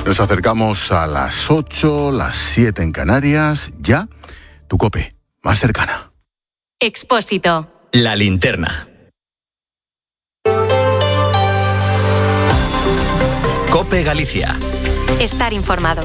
Nos acercamos a las 8, las 7 en Canarias. Ya, tu COPE, más cercana. Expósito. La linterna. COPE Galicia. Estar informado.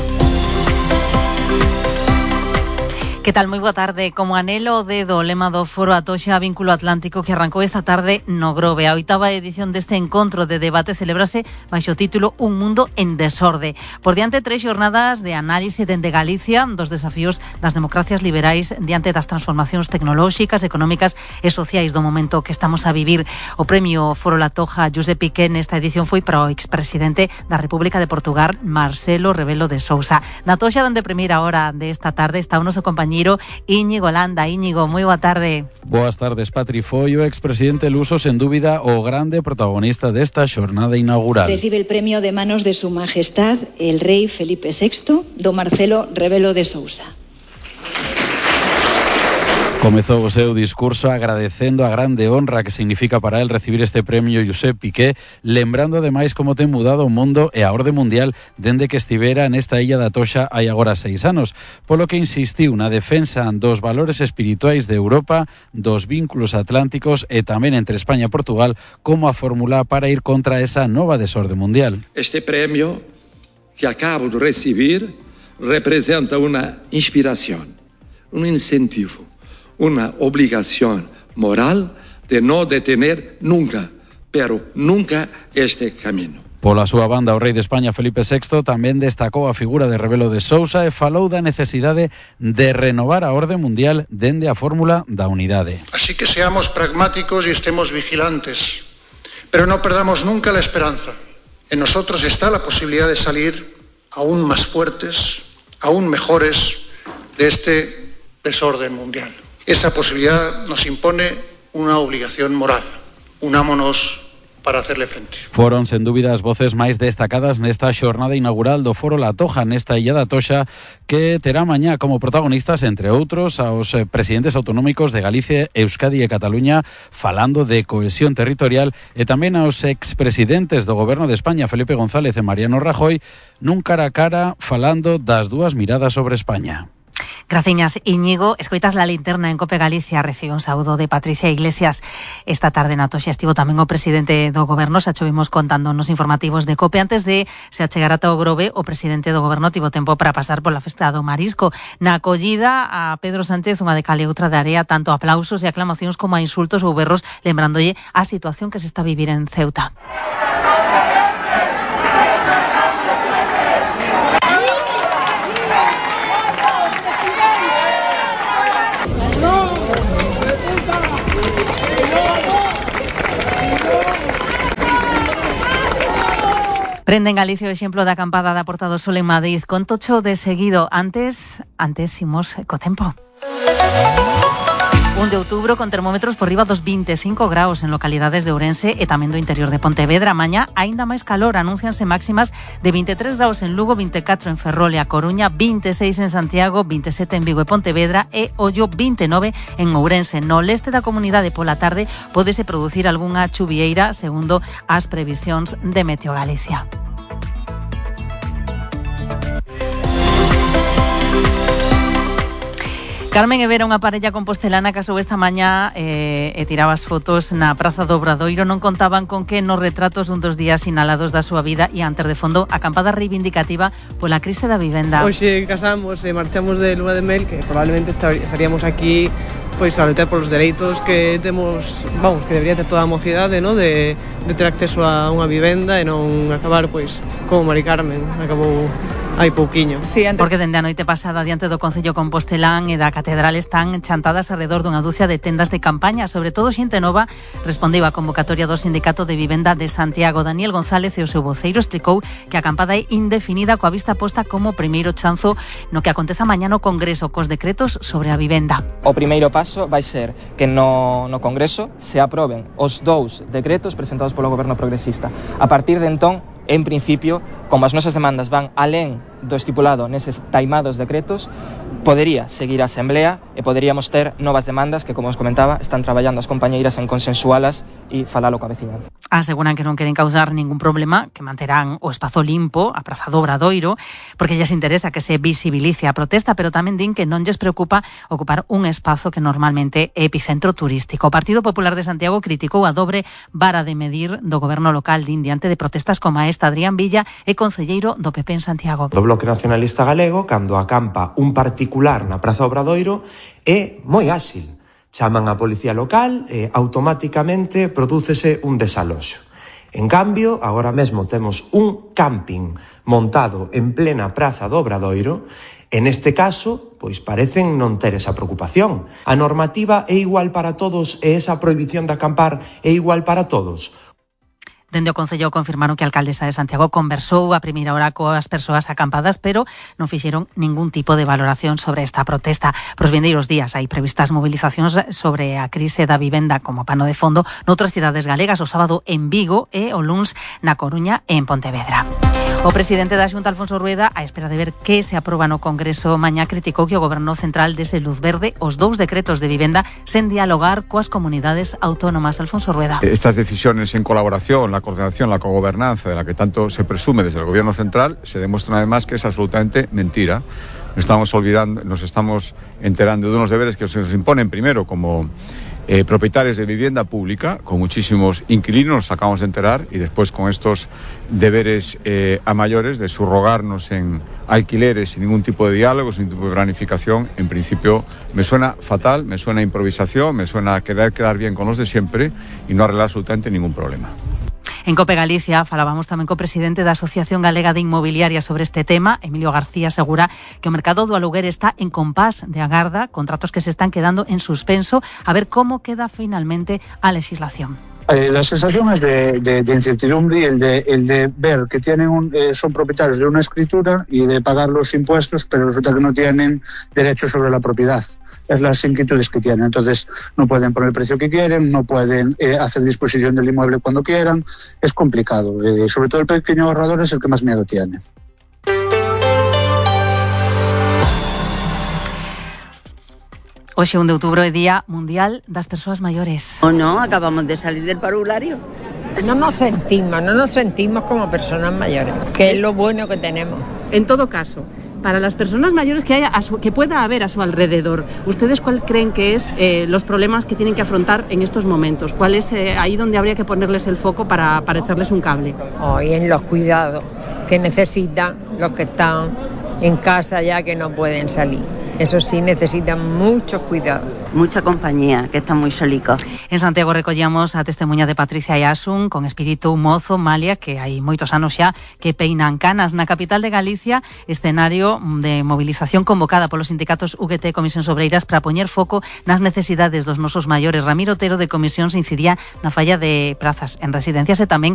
Que tal? Moi boa tarde. Como anelo o dedo, lema do Foro Atoxa Vínculo Atlántico que arrancou esta tarde no Grove. A 8ª edición deste encontro de debate celebrase baixo o título Un mundo en desorde. Por diante 3 xornadas de análise dende Galicia dos desafíos das democracias liberais diante das transformacións tecnolóxicas, económicas e sociais do momento que estamos a vivir. O premio Foro Latoja Josep Piqué nesta edición foi para o expresidente da República de Portugal, Marcelo Rebelo de Sousa. Na Atoxa, donde primeira hora desta tarde está o noso compañero Íñigo Landa. Íñigo, moi boa tarde. Boas tardes, Patri. Foi o expresidente luso, sen dúbida, o grande protagonista desta xornada inaugural. Recibe el premio de manos de su majestad, el rei Felipe VI, do Marcelo Rebelo de Sousa. Comezou o seu discurso agradecendo a grande honra que significa para el recibir este premio Josep Piqué, lembrando ademais como ten mudado o mundo e a orde mundial dende que estivera nesta illa da Atoxa hai agora 6 anos, polo que insistiu na defensa dos valores espirituais de Europa, dos vínculos atlánticos e tamén entre España e Portugal como a fórmula para ir contra esa nova desorde mundial. Este premio que acabo de recibir representa una inspiración, un incentivo, una obligación moral de no detener nunca, pero nunca este camino. Pola súa banda, o rei de España, Felipe VI, tamén destacou a figura de Rebelo de Sousa e falou da necesidade de renovar a orde mundial dende a fórmula da unidade. Así que seamos pragmáticos y estemos vigilantes, pero no perdamos nunca la esperanza. En nosotros está la posibilidad de salir aún más fuertes, aún mejores de este desorden mundial. Esa posibilidad nos impone una obligación moral. Unámonos para hacerle frente. Foron, sen dúbida, as voces máis destacadas nesta xornada inaugural do Foro Latoja nesta illa da Atoxa, que terá mañá como protagonistas, entre outros, aos presidentes autonómicos de Galicia, Euskadi e Cataluña, falando de cohesión territorial, e tamén aos expresidentes do Goberno de España, Felipe González e Mariano Rajoy, nun cara a cara falando das dúas miradas sobre España. Graciñas, Íñigo. Escoitas La Linterna en COPE Galicia. Recibe un saúdo de Patricia Iglesias. Esta tarde na Atoxa estivo tamén o presidente do Goberno, xa chovimos contando nos informativos de COPE. Antes de se achegar ata o Grove, o presidente do Goberno tivo tempo para pasar pola festa do Marisco. Na acollida a Pedro Sánchez, unha de cal e outra de area, tanto aplausos e aclamacións como a insultos ou berros, lembrándolle a situación que se está a vivir en Ceuta. Prende en Galicia o exemplo da acampada da Porta do Sol en Madrid con tocho de seguido. Antes imos co tempo. 1 de outubro con termómetros por riba dos 25 graus en localidades de Ourense e tamén do interior de Pontevedra. Mañá aínda máis calor, anúncianse máximas de 23 graus en Lugo, 24 en Ferrol e A Coruña, 26 en Santiago, 27 en Vigo e Pontevedra e Ollo 29 en Ourense. No leste da comunidade pola tarde pódese producir algunha chuvieira segundo as previsións de Meteo Galicia. Carmen e Vera, unha parella compostelana, casou esta mañá e tiraba as fotos na Praza do Obradoiro. Non contaban con que nos retratos dun dos días sinalados da súa vida e antes de fondo acampada reivindicativa pola crise da vivenda. Hoxe casamos e marchamos de lua de mel, que probablemente estaríamos aquí pois a loitar polos dereitos que temos, que debería ter toda a mocidade, ¿no? de ter acceso a unha vivenda e non acabar pois como Mari Carmen acabou hai pouquiño. Sí, porque dende a noite pasada diante do Concello Compostelán e da Catedral están chantadas alrededor dunha dúcia de tendas de campaña, sobre todo xente nova. Respondeu a convocatoria do Sindicato de Vivenda de Santiago. Daniel González e o seu voceiro explicou que a acampada é indefinida coa vista posta como primeiro chanzo no que aconteza mañá no Congreso cos decretos sobre a vivenda. O primeiro paso vai ser que no Congreso se aproben os 2 decretos presentados polo Goberno progresista. A partir de entón, en principio, como as nosas demandas van alén do estipulado neses taimados decretos, podería seguir a Asamblea e poderíamos ter novas demandas que, como os comentaba, están traballando as compañeiras en consensualas e falalo coa veciñanza. Aseguran que non queren causar ningún problema, que manterán o espazo limpo, a Praza do Obradoiro, porque lles interesa que se visibilice a protesta, pero tamén din que non lles preocupa ocupar un espazo que normalmente é epicentro turístico. O Partido Popular de Santiago criticou a dobre vara de medir do goberno local din diante de protestas como esta. Adrián Villa é concelleiro do PP en Santiago. Do Bloque Nacionalista Galego, cando acampa un particular na Praza Obradoiro, é moi áxil. Chaman a policía local e automáticamente prodúcese un desaloxo. En cambio, agora mesmo temos un camping montado en plena Praza do Obradoiro e neste caso, pois parecen non ter esa preocupación. A normativa é igual para todos e esa prohibición de acampar é igual para todos. Dende o Concello confirmaron que a alcaldesa de Santiago conversou a primeira hora coas persoas acampadas, pero non fixeron ningún tipo de valoración sobre esta protesta. Pros vindeiros días hai previstas movilizacións sobre a crise da vivenda como pano de fondo noutras cidades galegas, o sábado en Vigo e o luns na Coruña e en Pontevedra. O presidente da Xunta, Alfonso Rueda, á espera de ver que se aproba no Congreso mañá, criticou que o Goberno Central dese luz verde os 2 decretos de vivenda sen dialogar coas comunidades autónomas. Alfonso Rueda. Estas decisiones en colaboración, la coordinación, la cogobernanza de la que tanto se presume desde el Gobierno Central, se demuestran además que es absolutamente mentira. Nos estamos olvidando, nos estamos enterando de unos deberes que se nos imponen primero como propietarios de vivienda pública, con muchísimos inquilinos, nos acabamos de enterar, y después con estos deberes a mayores de subrogarnos en alquileres sin ningún tipo de diálogo, sin ningún tipo de planificación. En principio me suena fatal, me suena a improvisación, me suena a querer quedar bien con los de siempre y no arreglar absolutamente ningún problema. En Cope Galicia falábamos tamén co presidente da Asociación Galega de Inmobiliaria sobre este tema. Emilio García asegura que o mercado do aluguer está en compás de agarda, contratos que se están quedando en suspenso, a ver como queda finalmente a legislación. La sensación es de incertidumbre y el de ver que son propietarios de una escritura y de pagar los impuestos, pero resulta que no tienen derecho sobre la propiedad. Es las inquietudes que tienen. Entonces no pueden poner el precio que quieren, no pueden hacer disposición del inmueble cuando quieran. Es complicado. Sobre todo el pequeño ahorrador es el que más miedo tiene. Hoxe, 1 de outubro, é Día Mundial das Persoas Maiores. ¿O no? Acabamos de salir del parvulario. No nos sentimos como personas mayores, que es lo bueno que tenemos. En todo caso, para las personas mayores que pueda haber a su alrededor, ¿ustedes cuál creen que es los problemas que tienen que afrontar en estos momentos? ¿Cuál es ahí donde habría que ponerles el foco para echarles un cable? Hoy en los cuidados que necesitan los que están en casa ya que no pueden salir. Eso sí, necesitan mucho cuidado. Mucha compañía, que están muy solicos. En Santiago recollamos a testemunha de Patricia Iasun, con espírito mozo, malia, que hai moitos anos xa que peinan canas. Na capital de Galicia, escenario de movilización convocada polos sindicatos UGT e Comisións Obreiras para poñer foco nas necesidades dos nosos maiores. Ramiro Otero, de Comisións, incidía na falla de prazas en residencias e tamén